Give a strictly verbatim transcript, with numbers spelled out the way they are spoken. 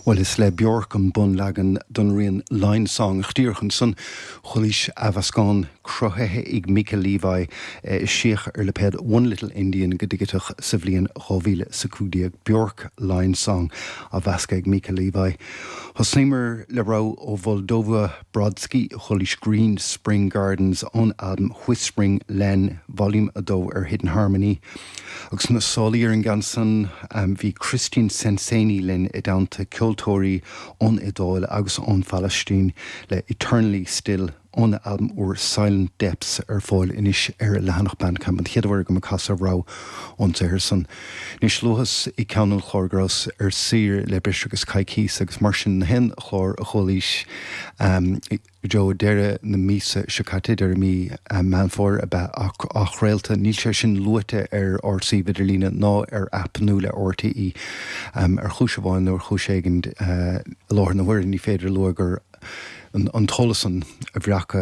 Well is le Bjork an bunleagan don rian Line Song díreach ansan chualaís athmheascán cruthaithe ag Mica Levi eisíodh ar lipéad One Little Indian go digiteach sa bhliain dhá mhíle is a cúig déag Bjork Line Song á mheascadh ag Mica Levi. Thosnaíomar le rogha ó Mholdova Brodsky chualaís Green Spring Gardens ón albam Whispering Len Volume a dó ar Hidden Harmony. Agus na sálaí ar an gceann san bhí Christian Sensini linn i dteannta ceoltóirí ón Iodáil agus ón Phalaistín le Eternally Still óna albam úr Silent Depths ar fáil anois ar leathanach Bandcamp an chéad uair agam ag casadh rogha ón saothar san. Anois luas i gceann an chláir go rabhas ar saoire le breis agus coicís agus mar sin na haon chlár a chualaís go deo deireadh na míosa seo caite, deireadh mí Meán Fómhair a bheith athchraolta. Níl sé sin luaite ar ár suíomh idirlíne ná ar aip nua le RTÉ ar chúis amháin nó ar chúis éigin i láthair na huaire ní féidir lua gur an t-eolas san a bhreacadh